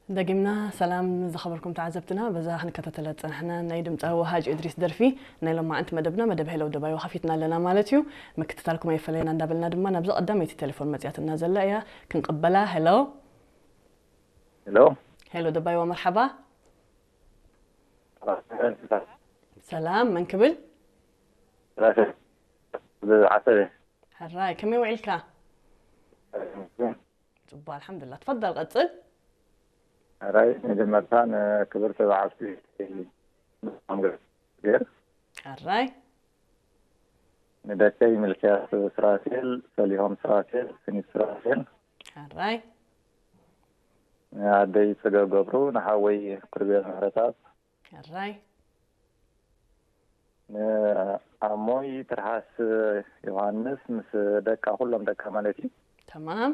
ደጊምና ሰላም ዝኸበርኩም ተዓዘብትና። በዛ ክንከታተላ ዝጸናሕና ናይ ድምጻዊ ወሃጅ እድሪስ ደርፊ ናይ ሎማዓንቲ መደብና፣ መደብ ሄሎ ደባይዋ፣ ከፊትና ኣለና ማለት እዩ። ምክትታልኩም ኣይፈለየና እንዳበልና ድማ ናብዛ ቀዳመይቲ ቴሌፎን መጽያትና ዘላ እያ ክንቅበላ። ሄሎ። ሄሎ። ሄሎ ደባይዋ፣ መርሓባ። ሰላም፣ መን ክብል? ዓሰበ። ሕራይ፣ ከመይ ውዒልካ? ጽቡቅ፣ ኣልሓምዱሊላህ። ትፈደል፣ ቀጽል። ሕራይ፣ መጀመርታ ንክብርቲ በዓልቲ ገር ሕራይ። ንደቀይ ሚልክያስ ሱራፌል፣ ሰሊሆም ሱራፌል፣ ስኒት ሱራፌል። ሕራይ። ንኣደይ ጽገብ ገብሩ፣ ንሓወይ ኩርቤል ምሕረተኣብ። ሕራይ። ንኣሞይ ትርሃስ ዮሃንስ ምስ ደቃ፣ ኩሎም ደቃ ማለት እዩ። ተማም።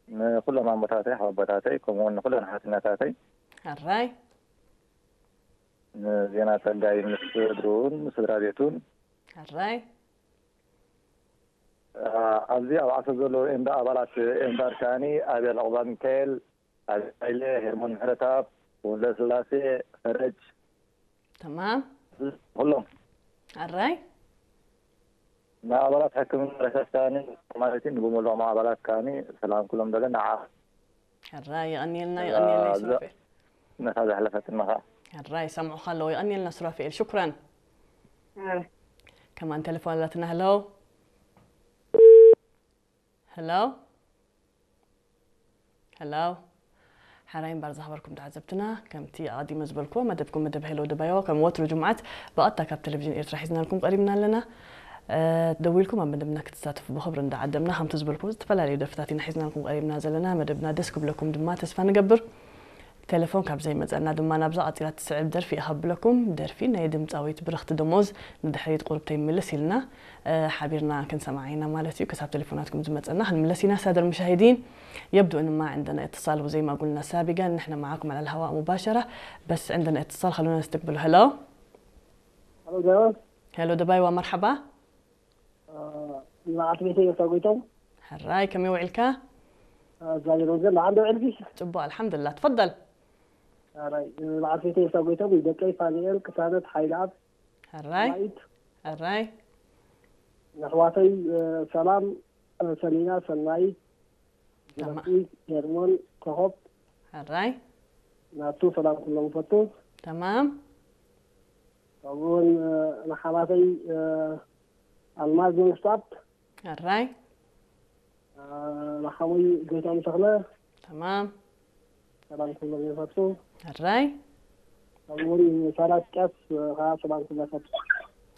ንኩሎም ኣሞታተይ፣ ሓወቦታተይ፣ ከምኡ እውን ንኩለን ሓትነታተይ። ሕራይ። ንዜና ጸጋይ ምስ ስድርኡን ስድራ ቤቱን። ሕራይ። ኣብዚ ኣብ ዓሰብ ዘለዉ ኤምዳ ኣባላት ኤምዳድ ከኣኒ፣ ኣቤል ዑቕባ ሚካኤል፣ ኣቤል ሃይለ፣ ሄርሞን ምሕረተኣብ፣ ወልደስላሴ ፈረጅ። ተማም። ኩሎም። ሕራይ። ንኣባላት ሕክምና ረሳስ ከኣኒ ማለት እዩ፣ ንብሙሉኦም ኣባላት ከኣኒ ሰላም ኩሎም በለ። ንዓ ሕራይ፣ የቐንየልና፣ የቐንየልና ሱራፌል። ነታ ዘሕለፈትና ኸዓ። ሕራይ፣ ይሰምዑኻ ኣለዉ። የቐንየልና ሱራፌል፣ ሽኩራን። ሕራይ። ከማን ቴሌፎን ኣላትና። ሄሎ። ሄሎ። ሄሎ። ሕራይ እምበር ዝኸበርኩም ተዓዘብትና፣ ከምቲ ኣቐዲመ ዝበልክዎ፣ መደብኩም መደብ ሄሎ ደባይዋ ከም ወትሩ ጅምዓት ብቐጥታ ካብ ቴሌቪዥን ኤርትራ ሒዝናልኩም ቀሪብና ኣለና። እ፣ ደዊልኩም ኣብ መደብና ክትሳተፉ ብኽብሪ እንዳዓደምና፣ ከምቲ ዝበልክዎ ዝተፈላለዩ ደርፍታት ኢና ሒዝናልኩም ቀሪብና ዘለና። መደብና ደስ ክብለኩም ድማ ተስፋ ንገብር። ቴሌፎን ካብ ዘይመጸና ድማ ናብዛ ቀጺላ ትስዕብ ደርፊ እየ ከብለኩም። ደርፊ ናይ ድምጻዊት ብርኽቲ ደሞዝ ንድሕሪት ቁሩብ ተይምልስ ኢልና፣ እ፣ ሓቢርና ክንሰምዓ ኢና ማለት እዩ። ክሳብ ቴሌፎናትኩም ዝመጸና ክንምለስ ኢና። ሳደር ሙሻሂዲን፣ يبدو إن ما عندنا اتصال وزي ما قلنا سابقا نحن معاكم على الهواء مباشرة، بس عندنا اتصال، خلونا نستقبله. هلو. ሄሎ ደበ። ሄሎ ደባይዋ፣ መርሓባ። ንዓት ቤተይ እታ ጎይቶም። ሕራይ፣ ከመይ ውዒልካ? እግዚኣብሔር ይመስገን። ደሓን ዶ ውዒልኪ? ጽቡቕ፣ ኣልሓምዱሊላህ። ትፈደል። ሕራይ፣ ንዓት ቤተይ እታ ጎይቶም፣ ደቀይ ፋኒኤል፣ ቅሳነት፣ ሓይለኣብ፣ ሕራይ። ሰናይት፣ ሕራይ። ንኣሕዋተይ፣ እ፣ ሰላም፣ እ፣ ሰሊና፣ ሰናይት፣ ተማ- ጅረቲ፣ ሄርሞን፣ ኮኾብ፣ ሕራይ። ናቱ፣ ሰላም ኩሎም ይፈቱ። ተማም። ከምኡውን፣ እ፣ ንሓማተይ፣ እ፣ ኣልማዝ መንግስታት፣ ሕራይ። እ፣ ንሓሙይ ጎይቶም ተኽለ፣ ተማም። ሰላም ኩሎም ይፈቱ። ሕራይ። ከምኡውን ሳላ ቅያስ፣ እ፣ ኸዓ ሰላም ኩሎም ይፈቱ።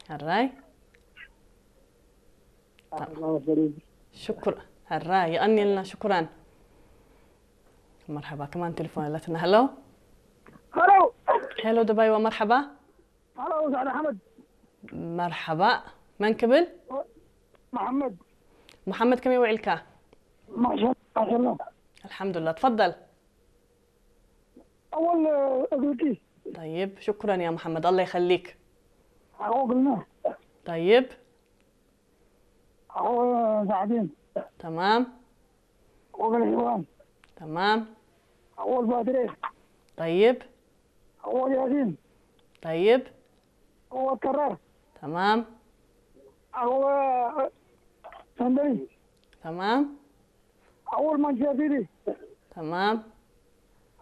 ሕራይ። ኣኽርና ወስደኒ። ሽኩር። ሕራይ፣ የቐንየልና፣ ሽኩራን። መርሓባ፣ ከማን ቴሌፎን ኣለትና። ሄሎ። ሄሎ። ሄሎ ደባይዋ፣ መርሓባ። ሄሎ፣ ሳዕድ ኣሕመድ። መርሓባ። መን ክብል? መሓመድ። መሓመድ፣ ከመይ ውዒልካ? ማሻ-፣ ማሻላ። ኣልሓምዱሊላህ፣ ትፈደል። ኣወል እግርኪ። ጠይብ፣ ሽኩረን ያ መሓመድ፣ ኣላህ ይኸሊክ። ኣዎ ግልና። ጠይብ። ኣዎ ሳዕዲን። ተማም። ኣዎ ገልሒዋን። ተማም። ኣዎ ባድሬ። ጠይብ። ኣዎ ያሲን። ጠይብ። ኣዎ ከራር። ተማም። ኣዎ ሰንደሊ። ተማም። ኣዎ ማንቸስተር ሲቲ። ተማም።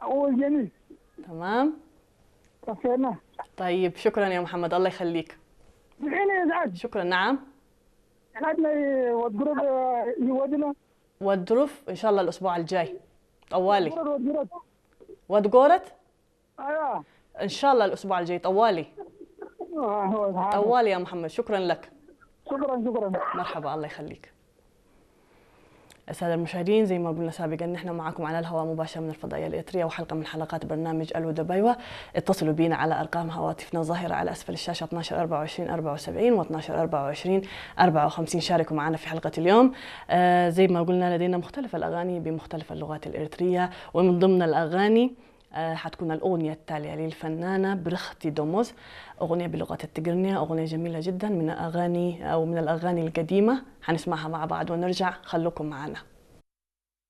ኣዎ ጀሚል። ተማም። ከፍተና። ጠይብ፣ ሽኩረን ያ መሓመድ፣ ኣላህ ይኸሊክ። ብሒነ ሰዓት። ሽኩረን። ነዓም። ሰዓት ናይ ወድግሮብ ይወድና። ወድሩፍ፣ እንሻላ፣ الأسبوع الجاي። ጠዋሊ። ወድግሮብ ወድግሮብ። ወድጎረት? ኣያ። እንሻላ፣ الأسبوع الجاي ጠዋሊ። ጠዋሊ ያ መሓመድ፣ ሽኩረን ለክ። ሽኩረን ሽኩረን። መርሓባ፣ ኣላህ ይኸሊክ። السادة المشاهدين، زي ما قلنا سابقا، نحن معكم على الهواء مباشرة من الفضائية الإريترية، وحلقة من حلقات برنامج ألو دبايوة. اتصلوا بينا على أرقام هواتفنا الظاهرة على أسفل الشاشة، اثناش أربعة وعشرين أربعة وسبعين و اثناش أربعة وعشرين أربعة وخمسين. شاركوا معنا في حلقة اليوم. آه، زي ما قلنا، لدينا مختلف الأغاني بمختلف اللغات الإريترية، ومن ضمن الأغاني، آه، حتكون الأغنية التالية للفنانة برختي دوموز، أغنية بلغة التقرنية، أغنية جميلة جدا، من أغاني أو من الأغاني القديمة. حنسمعها مع بعض ونرجع، خلوكم معنا.